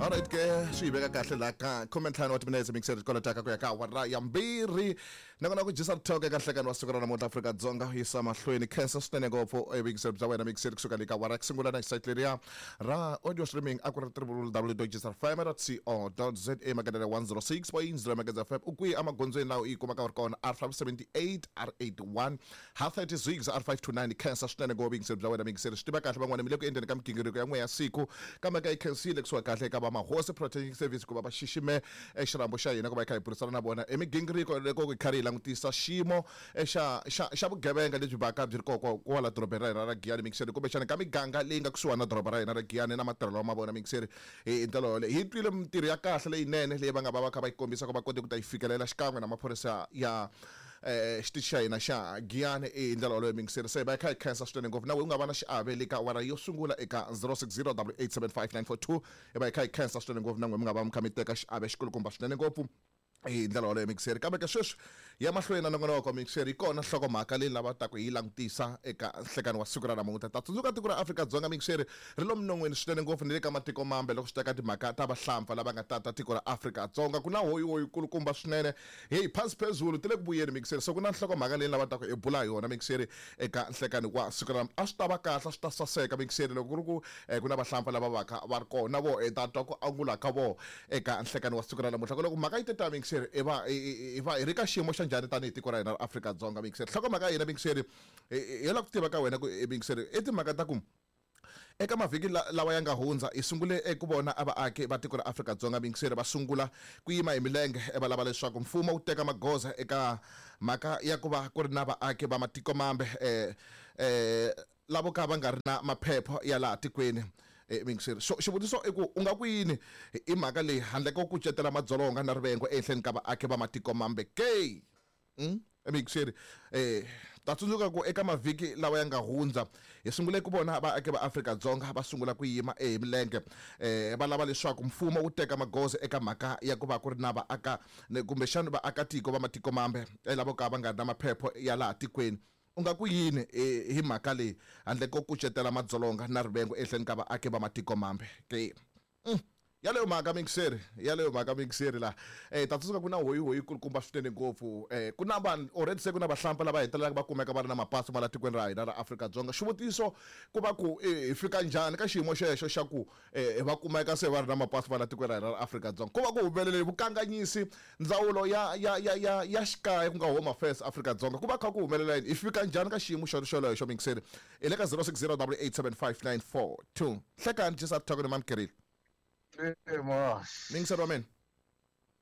Alright ke, swi yi veka kahle laha ka 15 wa timinetse mixer kolotaka ku ya ka awara ya 2, nakona ku dyisa rithoko eka nhlekani wa siku ra namuntlha. Afrika-Dzonga yisa mahlweni. Khensa swinene ngopfu evuyingiseri bya wena mixer kusuka le ka awara ya ku sungula na xisite leriya ra audio streaming a ku ri www.gsrfm.co.za, magandzelo 106.0 Magandza FM. U kwihi emagondzweni laha u yi kumaka u ri kona? R578, R81, H36, R529. Khensa swinene ngopfu vuyingiseri bya wena mixer. Swi tiva kahle van'wana mi le ku endleni ka migingiriko ya n'we ya siku, kambe ka yi khensile kusuka kahle eka va Mahosi Protection Service ku va va xixime xirambo xa hina ku va hi kha hi burisana na vona emigingiriko loko hi karhi hi langutisa xiyimo xa vugevenga lebyi vaka byi ri koko kwala dorobeni ra hina ra Giyani mixeri, kumbexana ka miganga leyi nga kusuhani na doroba ra hina ra Giyani na matirhelo ma vona mixeri. Hi ndlela yoleyo hi twile mintirho ya kahle leyinene leyi va nga va va kha va yi kombisa ku va kote ku ta yi fikelela xikan'we na maphorisa ya xitichi xa hina xa Giyani. Hi ndlela yoleyo mixeri, se va hi kha hi khensa swinene ngopfu. Na we u nga va na xiave le ka awara yo sungula eka 060 875 942. Hi va hi kha hi khensa swinene ngopfu na n'we mi nga va mi kha mi teka xiave xikulukumba swinene ngopfu hi ndlela yoleyo mixeri. Kambe ke sweswi ya mahlweni na nongonoko mixeri, yi kona nhlokomhaka leyi lava taku hi yi langutisa eka nhlekani wa siku ra namuntlha. Ta tsundzuka tiko ra Afrika-Dzonga mixeri ri lo minon'wini swinene ngopfu ni le ka matiko mambe loko swi ta ka timhaka ta vahlampfa lava nga tata tiko ra Afrika-Dzonga. Ku na hoyihoyi kulukumba swinene, heyi, phasi phezulu ti le ku vuyeni mixeri. So ku na nhlokomhaka leyi lava taku hi bula hi yona mixeri eka nhlekani wa siku ra namuntlha. A swi ta va kahle, a swi ta saseka mixeri loko ku ri ku ku na vahlampfa lava vaka va ri kona vo hi ta twa ku angula ka vo eka nhlekani wa siku ra namuntlha. Ku loko mhaka yi te ta mixeri, hi va hi va hi ri ka xiyimo xa njhani tanihi tiko ra hina ra Afrika-Dzonga mixeri? Nhlokomhaka ya hina mixeri hi lava ku tiva ka wena ku mixeri i timhaka ta ku eka mavhiki lawa ya nga hundza hi sungule eku vona a vaaki va tiko ra Afrika-Dzonga mixeri va sungula ku yima hi milenge va lava leswaku mfumo wu teka magoza eka mhaka ya ku va ku ri na vaaki va matiko mambe lavo ka va nga ri na maphepha ya laha tikweni mixeri. So xivutiso i ku u nga ku yini hi mhaka leyi handle ko kucetela madzolonga na rivengo ehenhleni ka vaaki va matiko mambe ke? Mixeri, ta tsundzuka ku eka mavhiki lawa ya nga hundza hi sungule ku vona vaaki va Afrika-Dzonga va sungula ku yima hi milenge va lava leswaku mfumo wu teka magoza eka mhaka ya ku va ku ri na vaaka kumbexana vaakatiko va matiko mambe lavo ka va nga ri na maphepha ya laha tikweni. U nga ku yini hi mhaka leyi handle ko kucetela madzolonga na rivengo ehenhleni ka vaaki va matiko mambe ke? Yaleyo mhaka mixeri, yaleyo mhaka mixeri laha ta tsundzuka ku na hoyihoyi kulukumba swinene ngopfu. Ku na vanhu already se ku na vahlampfa lava hetelelaka va kumeka va ri na mapasi ma la tikweni ra hina ra Afrika-Dzonga. Xivutiso ku va ku hi fika njhani ka xiyimo xexo xa ku va kumeka se va ri na mapasi ma la tikweni ra hina ra Afrika-Dzonga? Ku va ku humelele vukanganyisi ndzawulo ya ya ya ya ya xikaya ku nga Home Affairs Afrika-Dzonga, ku va kha ku humelela yini? Hi fika njhani ka xiyimo xolexo mixeri? Hi le ka 060 875 942. Hlekani Jesa Thoko ni Mamkerile. Mas. Mingiseri wa mina.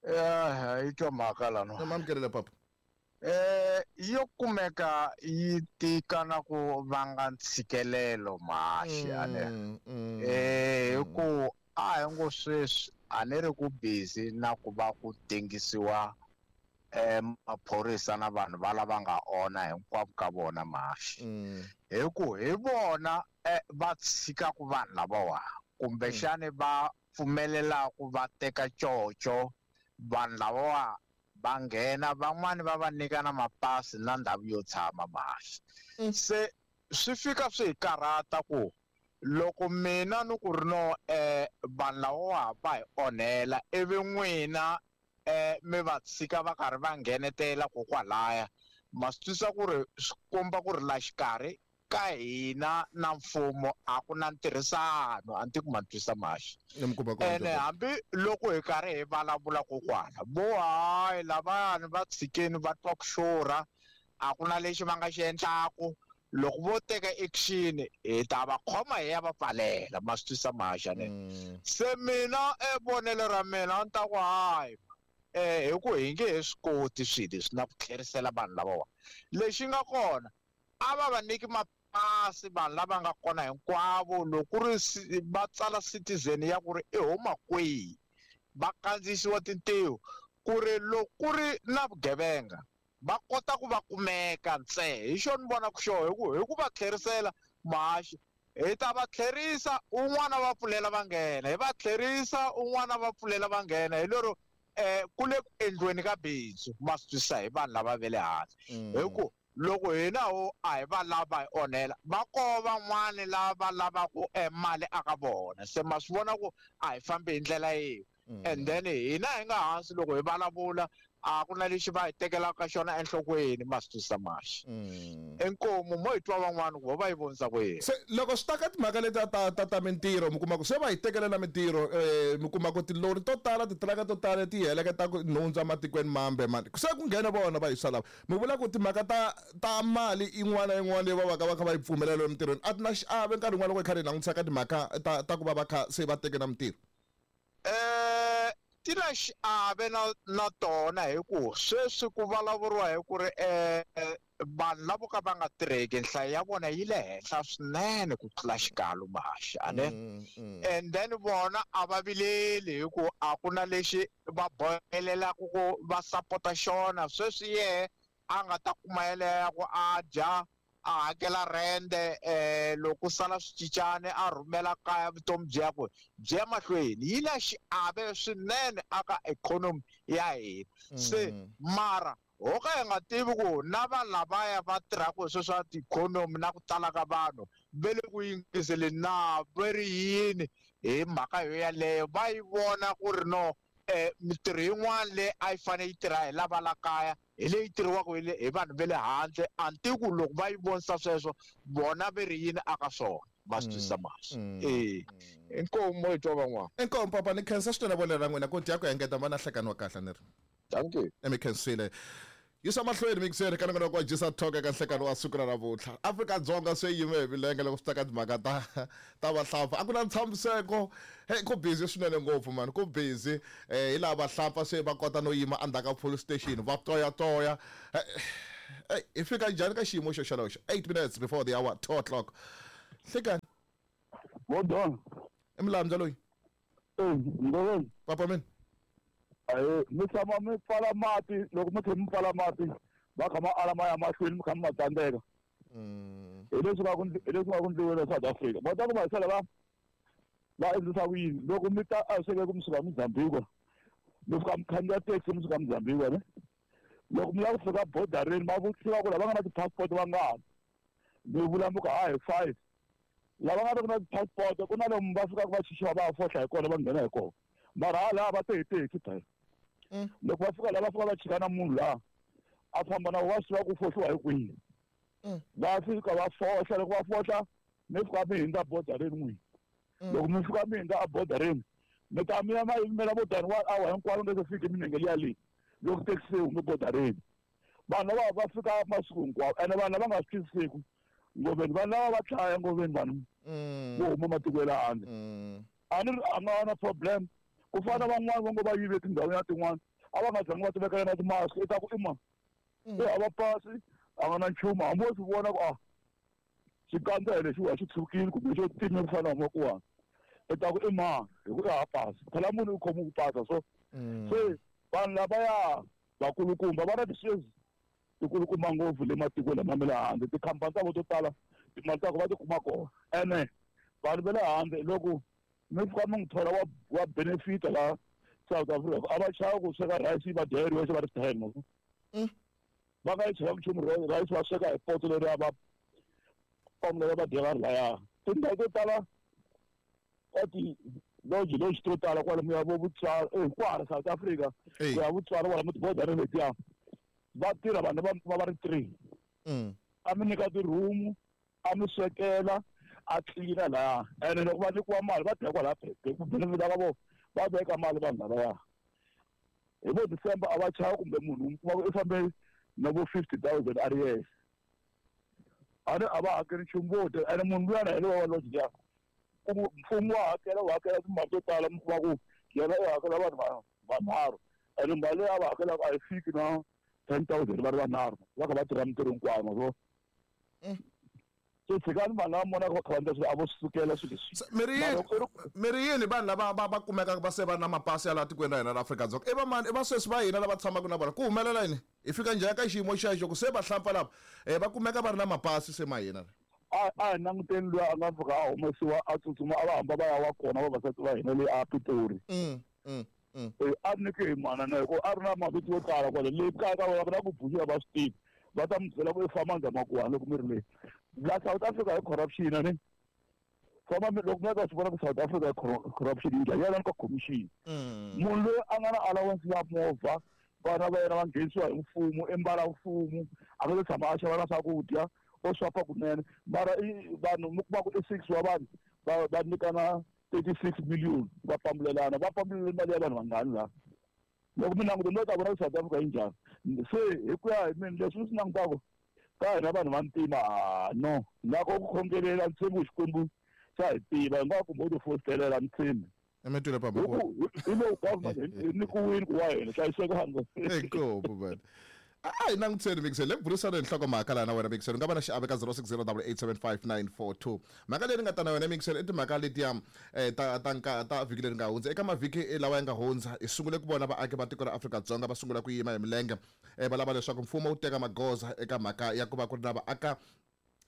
Ya, yi twa mhaka lano. Mamkerile papa. Yo kumeka yi tika na ku vanga ntshikelelo mahaxi ane. Hi ku a hi ngo sweswi a ni ri ku busy na ku va ku tengisiwa maphorisa na vanhu va lava nga ona hinkwavo ka vona mahaxi. Hi ku hi vona va tshikaku vanhu lavawa kumbexani va pfumelelaku va teka coco vanhu lavawa va nghena, van'wani va va nyika na mapasi na ndhawu yo tshama mahaxi. Se swi fika swi hi karhata ku loko mina ni ku ri no vanhu lavawa va hi onhela ivi n'wina mi va tshika va karhi va nghenetela kokwalaya, ma swi twisisa ku ri swi komba ku ri la xikarhi ka hina na mfumo a ku na ntirhisano. A ni tivi ku ma ni twisisa mahaxi. Ene hambi loko hi karhi hi vulavula kokwana vo hayi lavayani va tshikeni va twa ku xurha, a ku na lexi va nga xi endlaku, loko vo teka action hi ta va khoma hi ya va pfalela. Ma swi twisisa mahaxi ane? Se mina vonelo ra mina a ni ta ku hayi hi ku hi nge he swi koti swilo leswi na ku tlherisela vanhu lavawa. Lexi nga kona a va va nyiki mapasi vanhu lava nga kona hinkwavo, loko ku ri va tsala citizen ya ku ri i huma kwihi, va kandziyisiwa tintiho ku ri loko ku ri na vugevenga va kota ku va kumeka ntsena. Hi xona ni vonaka xona, hi ku va tlherisela mahaxi hi ta va tlherisa un'wana va pfulela va nghena, hi va tlherisa un'wana va pfulela va nghena. Hi lero ku le ku endliweni ka bindzu, ma swi twisisa, hi vanhu lava ve le handle. Hi ku Loko hina ho a hi va lava hi onhela, va koho van'wani lava lavaku mali aka vona. Se ma swi vona ku a hi fambi hi ndlela yin'we. And then hina hi nga hansi loko hi vulavula a ku na lexi va hi tekelaka xona enhlokweni, ma swi twisisa maxi. Inkomu mo hi twa van'wani ku vo va yi vonisa ku yini. Se loko swi ta ka timhaka letiya ta mintirho, mi kuma ku se va hi tekelela mintirho, mi kuma ku tilori to tala, titiraka to tala ti heleketa ku nhundzu ematikweni mambe mani, se ku nghena vona va yisa lava. Mi vula ku timhaka ta mali yin'wana na yin'wana leyi va va ka va kha va yi pfumelela emintirhweni a ti na xiave nkarhi wun'wana loko hi kha hi langutisa ka timhaka ta ku va va kha se va teke na mintirho? Ti na xiave na tona, hi ku sweswi ku vulavuriwa hi ku ri vanhu lavo ka va nga tirheki nhlayo ya vona yi le henhla swinene ku tlula xikalo maxi, a ne? And then vona a va vileli hi ku a ku na lexi va bohelelaka ku va sapota xona. Sweswi yehe a nga ta kuma yeleyo ya ku a dya, a hakela rende, loko sala swicicane a rhumela kaya, vutomi byi ya ku byi ya mahlweni. Yi na xiave swinene aka ikhonomi ya hina. Se mara ho ka hi nga tivi ku na vanhu lavaya va tirhaka hi sweswo swa tiikhonomi na ku tala ka vanhu ve le ku yingiseleni na ve ri yini hi mhaka yo yaleyo, va yi vona ku ri no mintirho yin'wana leyi a yi fanele yi tirha hi lava la kaya hi leyi tirhiwaka hi vanhu va le handle. A ni tivi ku loko va yi vonisa sweswo vona ve ri yini aka swona, ma swi twisisa maxi. Inkomu mo hi twa van'wana. Inkomu papa, ni khensa swinene vonelo ra n'wina ku dya ku engeta va na nhlekani wa kahle ni ri. Thank you. Mi khensile. Yisa mahlweni mixeri ka nongonoko wa Jisa Talk eka nhlekani wa siku ra namuntlha. Afrika-Dzonga se yime hi milenge loko swi ta ka timhaka ta vahlampfa. A ku na ntshamiseko. Hey, ku busy swinene ngopfu mani, ku busy. Hi laha vahlampfa se va kota no yima endzhaku ka police station va toyatoya. Hey, hi fika njhani ka xiyimo xo xolexo? 8 minutes before the hour 2 o'clock. Nhlekani. Modon. I Mlamza loyi. Ngoveni. Papa mina. Ayi, mi tshama mi pfala mati, loko mi tlhela mi pfala mati, va kha ma ala ma ya mahlweni, mi kha mi ma tsandzeka. Hi leswi nga ku hi leswi nga ku ndliweni South Africa. Va ta ku va sala va endlisa ku yini? Loko mi ta a sweke ku mi suka Mozambique, mi fika mi khandziya taxi mi suka Mozambique, ne? Loko mi lava ku fika bordereni, va vutisiwa ku lava nga na ti-passport va ngani? Mi vula mi ku ha hi 5. Lava nga ri na ti-passport, ku na lomu va fikaka va chichiwa va fohla hi kona va nghena hi kona. Mara hala va te hi taxi phela. Loko va fika la va fika va chika na munhu laha a famba na va swi tiva ku fohliwa hi kwihi. Va fika va fohla, loko va fohla mi fika mi hundza bordereni n'wini. Loko mi fika mi hundza a bordereni, mi ta mi ya ma yimela vo tani 1 hour hinkwaro nge se fiki minenge liya leyi loko taxi se hume bordereni. Vanhu lava va fika masiku hinkwawo, ene vanhu lava nga swi twisisiku ngoveni, vanhu lava va tlhaya ngoveni vanhu vo huma matiko ya le handle. A ni ri a nga na problem. Ku fana na van'wani va ngo va yive tindhawini ya tin'wani, a va nga zangi va tivekela na ti-mask, i ta ku i ma i hava pasi, a nga na nchumu, hambi wo swi vona ku a xikandza hi lexiwa xi tshukile kumbe xo time ku fana na huma kuwani, i ta ku i mani hi ku i hava pasi. Phela munhu u khomiwe ku pasa so. Se vanhu lavaya vakulukumba va na ti-shares tikulukumba ngopfu le matikweni lama ma le handle, tikhampani ta vona to tala timali ta ku va ti kuma kona. Ene vanhu va le handle loko mi fika mi n'wi thola wa benefit la South Africa, a va chavi ku sweka rice yi va dya yi ri yoxe va ri 10, ma swi. Va nga yi chela nchumu rice va sweka hi poto leriya va pamula va dya va ri laya. Tindhawu to tala ka ti-lodge, lodge to tala kwalomu ya vo Botswana, hinkwaro South Africa, ku ya Botswana kwalomu ti-border letiya, va tirha vanhu va va ri 3. A mi nyika ti-room, a mi swekela, a tlilina laya. Ene loko va nyikiwa mali va dya kwalaya ku benefit ka vona, va veka mali vanhu lavaya. Hi vo December a va chavi kumbe munhu u kuma ku i fambe na vo 50,000 a ri yexe. A ni a va hakeli nchumu vo dya, ene munhu luyana hi lowa wa lodge liya. Ku mfumo wa hakela, wu hakela timali to tala, mi kuma ku yena u hakela vanhu vanharhu, ene mali leyi a va hakelaka a yi fiki na 10,000 va ri vanharhu, va kha va tirha mintirho hinkwayo, ma swi vona? So tshikani vanhu lava vonaka va kha va endla swilo, a vo swi sukela swilo leswi. Se, mi ri yini, Mara loko i ri mi ri yini vanhu lava va kumekaka va se va na mapasi ya laha tikweni ra hina ra Afrika-Dzonga? I va mani? I va sweswi va hina lava tshamaka na vona? Ku humelela yini? Hi fika njhani ka xiyimo xexo ku se vahlampfa lava, va kumeka va ri na mapasi se ma hina? A hi languteni luya a nga fika a humesiwa a tsutsuma a va hamba va ya wa kona vavasati va hina le a Pitori. A nyike hi mana na hikuva a ri na mavito yo tala kwale le kaya ka vona ku na ku buxiwa va swi tivi. Va ta mi byela ku i famba ndzhamakuwani loko mi ri le la South Africa hi corruption a ni famba loko mi ya ta swi vona ku South Africa hi corruption yi njhani, yana ka commission. Munhu loyi a nga na allowance ya movha, vana va yena va nghenisiwa hi mfumo, i mbala mfumo, a nga se tshama a xava na swakudya, o swapa kunene. Mara i vanhu mi kuma ku i 6 wa vanhu va nyikana 36 million, va pambulelana, va pambulele mali ya vanhu vangani laha. Loko mi languta mi ta vona ku South Africa yi njhani. Se hi ku ya hi mina leswi ni swi langutaka ka hina vanhu va ntima, no na ko ku khongelela ni tshembi ku Xikwembu xa hi tiva, hi nga kumbe u ti fositelela ni tshembi. Emetwile papa. Hi ku hi lowu government hi nyikiwile ku wa hina hlayisekanga. Inkomu man. A hi langutiseni Mixel, le ku burisana hi nhlokomhaka laha na wena Mixel, u nga va na xiave ka 0608875942. Mhaka leyi ni nga ta na yona Mixel i timhaka letiya ta ta nka ta vhiki leri nga hundza. Eka mavhiki lawa ya nga hundza hi sungule ku vona vaaki va tiko ra Afrika-Dzonga va sungula ku yima hi milenge, va lava leswaku mfumo wu teka magoza eka mhaka ya ku va ku ri na vaaka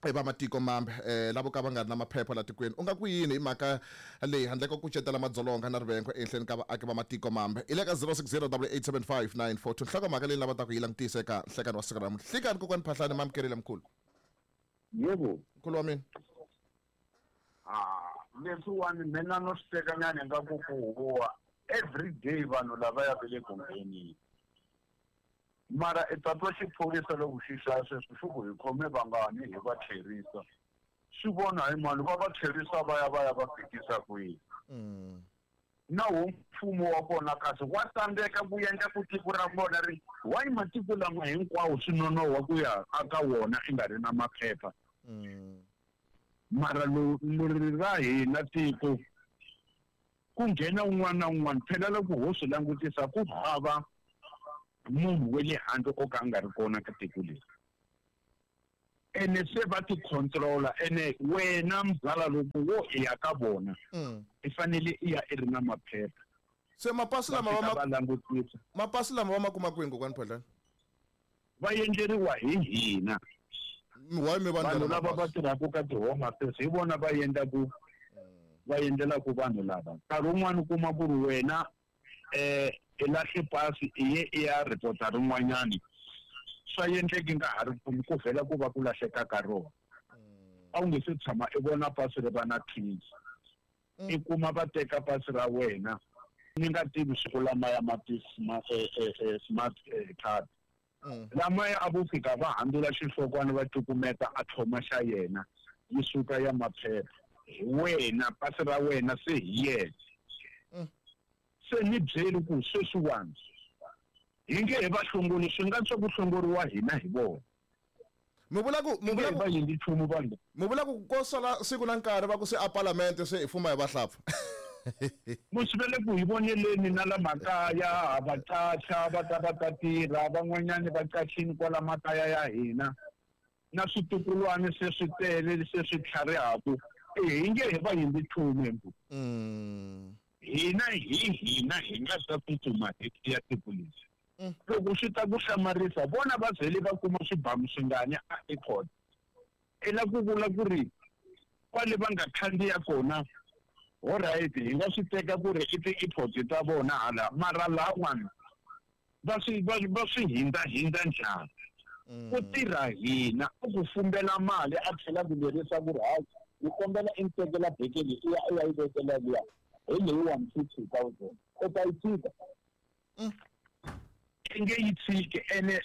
va matiko mambe lavo ka va nga ri na maphepha la tikweni. U nga ku yini hi mhaka leyi handle ko kucetela madzolonga na rivengo ehenhleni ka vaaki va matiko mambe? I le ka 0608875942, nhlokomhaka leyi lava ta ku yi langutisa eka nhlekani wa siku ra namuntlha. Hlikani kokwani Phahlane, mamukerile mkhulu. Yebo. Mkhulu wa mina. Leswiwani mina no swi tekanyana ingaku ku huwa every day vanhu lavaya va le ku ngheneni. Mara i ta twa xiphorisa loko xi hlaya sweswo xi ku hi khome vangani hi va tlherisa. Swi vona hi mani va va tlherisa va ya va ya va fikisa kwihi. Na wo mfumo wa kona kasi wa tsandzeka ku endla ku tiko ra vona ri why matiko lama hinkwawo swi nonoha ku ya aka wona i nga ri na maphepha. Mara leri ra hina tiko ku nghena un'wana na un'wana, phela loko ho swi langutisa ku hava munhu wa le handle o ka a nga ri kona ka tiko leri. Ene se va ti controla, ene wena mzala loko wo i ya ka vona i fanele i ya i ri na maphepha. Se mapasi lama Va fika va langutisa. Mapasi lama va ma kuma kwini kokwani Phahlane? Va endleriwa hi hina. Why mi va Vanhu ndlela lava va mapasi? tirhaka ka ti-home affairs hi vona va endlaku, va endlelaka vanhu lava. Nkarhi wun'wani u kuma ku ri wena i lahle pasi i ye i ya report-a rin'wanyani, swa endleki nga ha ri kumi ku vhela ku va ku lahleka ka rona. A wu nge se tshama i vona pasi ri va na trace. I kuma va teka pasi ra wena ni nga tivi siku lamaya ma ti smart card. Lamaya a vo fika va handzula xihlokwana va cukumeta a tlhoma xa yena yi suka ya maphepha. Hi wena pasi ra wena se hi yena. Se ni byeli ku sweswiwani hi nge he va hlongoli, swi nga swa ku hlongoriwa hina hi vona. Mi vula ku, mi Hi nge vula he ku va yendli nchumu vanhu. Mi vula ku ko sala siku na nkarhi va ku se a parliament se hi fuma hi vahlapfa. Musi va le ku hi voneleni na la makaya, ha va qacha, va ta va ta tirha, van'wanyani va qachini kwala makaya ya hina. Na switukulwana se swi tele se swi tlharihaku, hi nge he va yendli nchumu hembu. Hina hi hina hi nga ta tsutsuma hi ya tiko leri. Loko swi ta ku hlamarisa, vona va vhele va kuma swibamu swingani a airport. I la ku vula ku ri kwale va nga khandziya kona, all right, hi nga swi teka ku ri i ti-airport ta vona hala, mara lawani va swi, va, va swi hindza-hindza njhani? Ku tirha hina, u ku fumbela mali a tlhela ku lerisa ku ri hayi, ni kombela i ni tekela beke leyi, i ya, i ya yi vekela liya, hi leyi one fifty thousand. U ta yi tshika? I nge yi tshiki, ene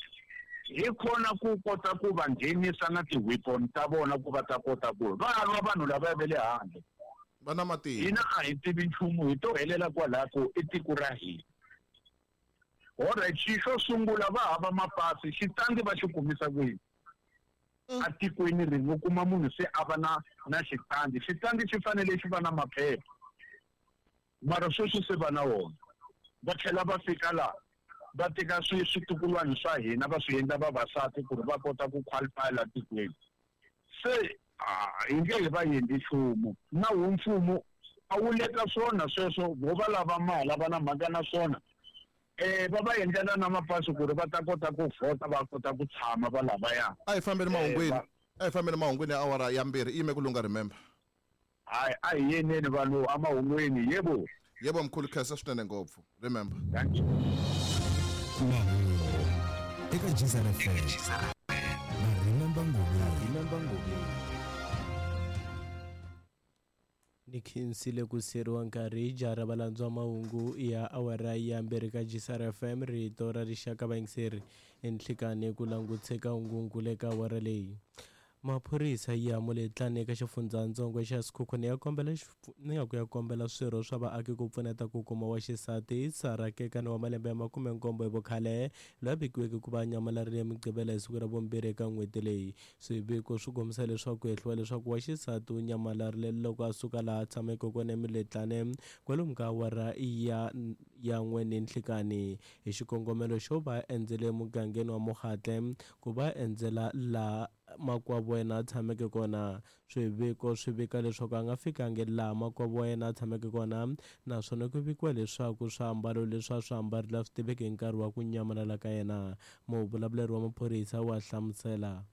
hi kona ku kota ku va nghenisa na ti-weapon ta vona ku va ta kota ku va lwa vanhu lava va le handle. Va na matimba. Hina a hi tivi nchumu, hi to helela kwalaho ku i tiko ra hina. All right, xi xo sungula va hava mapasi, xitandi va xi kumisa kwini? Atikweni rin'we u kuma munhu se a va na xitandi. Xitandi xi fanele xi va na maphepha. Mara sweswi se va na wona. Va tlhela va fika laha va teka switukulwana swa hina va swi endla vavasati ku ri va kota ku qualify la tikweni. Se hi nge he va endli nchumu. Na wu mfumo a wu leta swona sweswo, vo va lava mali, a va na mhaka na swona. Va va endlela na mapasi ku ri va ta kota ku vhota, va kota ku tshama va lavaya. A hi fambeni mahungwini. A hi fambeni mahungwini ya awara ya 2, i yime ku lunga, remember. Hayi, a hi yeneni vanhu emahungwini, yebo. Yebo mkhulu, khensa swinene ngopfu, remember. Thank you. Mahungu eka Geza FM. Ni khensile ku siyeriwa nkarhi jara valandzwa mahungu ya awara ya mbirhi ka GCR FM rito ra rixaka vayingiseri enhlikani ku languteka hungungu le ka awara leyi. Maphorisa ya Moletlane eka xifundzatsongo xa Sekhukhune ya kombela ni nga ku ya kombela swirho swa vaaki ku pfuneta ku kuma wa xisati Sarah Kekana wa malembe ya 17 hi vukhale loyi a vikiweke ku va a nyamalarile Mugqivela hi siku ra vumbirhi eka n'hweti leyi. Swiviko swi kombisa leswaku ku hehliwa leswaku wa xisati u nyamalarile loko a suka laha a tshameke kona eMoletlane kwalomu ka awara ya ya n'we ninhlikani hi xikongomelo xo va a endzele emugangeni wa Mogatle ku va a endzela laha makwavo wa yena a tshameke kona. Swiviko swi vika leswaku a nga fikangi laha makwavo wa yena a tshameke kona naswona ku vikiwa leswaku swiambalo leswi a swi ambarile a swi tiveki hi nkarhi wa ku nyamalala ka yena. Muvulavuleri wa maphorisa wa hlamusela.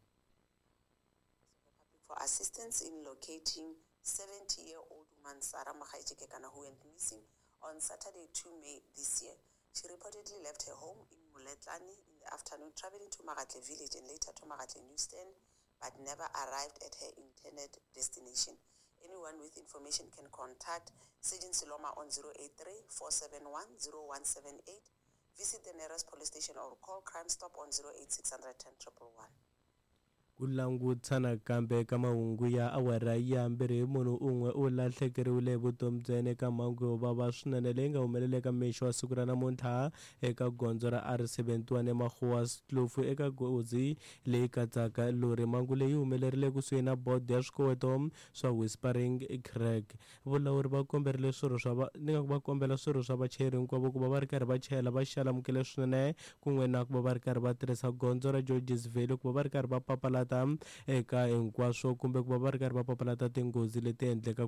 For assistance in locating 70-year-old woman Sarah Mogaetsi Kekana who went missing on Saturday 2 May this year. She reportedly left her home in Moletlane in the afternoon, traveling to Magatle village and later to Magatle Newsstand, but never arrived at her intended destination. Anyone with information can contact Sergeant Siloma on 083 471 0178, visit the nearest police station or call Crime Stop on 08600 10 111. Ku langutisa nakambe eka mahungu ya awara ya mbirhi munhu un'we u lahlekeriwile hi vutomi bya yena eka mhangu yo vava swinene leyi nga humelela eka mixo wa siku ra namuntlha eka gondzo ra R71 eMagoaskloof eka gozi leyi katsaka lori. Mhangu leyi humelerile kusuhi na bodo ya swikoweto swa Whispering Crack. Vulawuri va komberile swirho swa va ni nga ku va kombela swirho swa vachayeri hinkwavo ku va va ri karhi va chayela va xalamukile swinene kun'we na ku va va ri karhi va tirhisa gondzo ra Georges Valley ku va va ri karhi va papalata eka hinkwaswo kumbe ku va va ri karhi va papalata tinghozi leti endlekaka.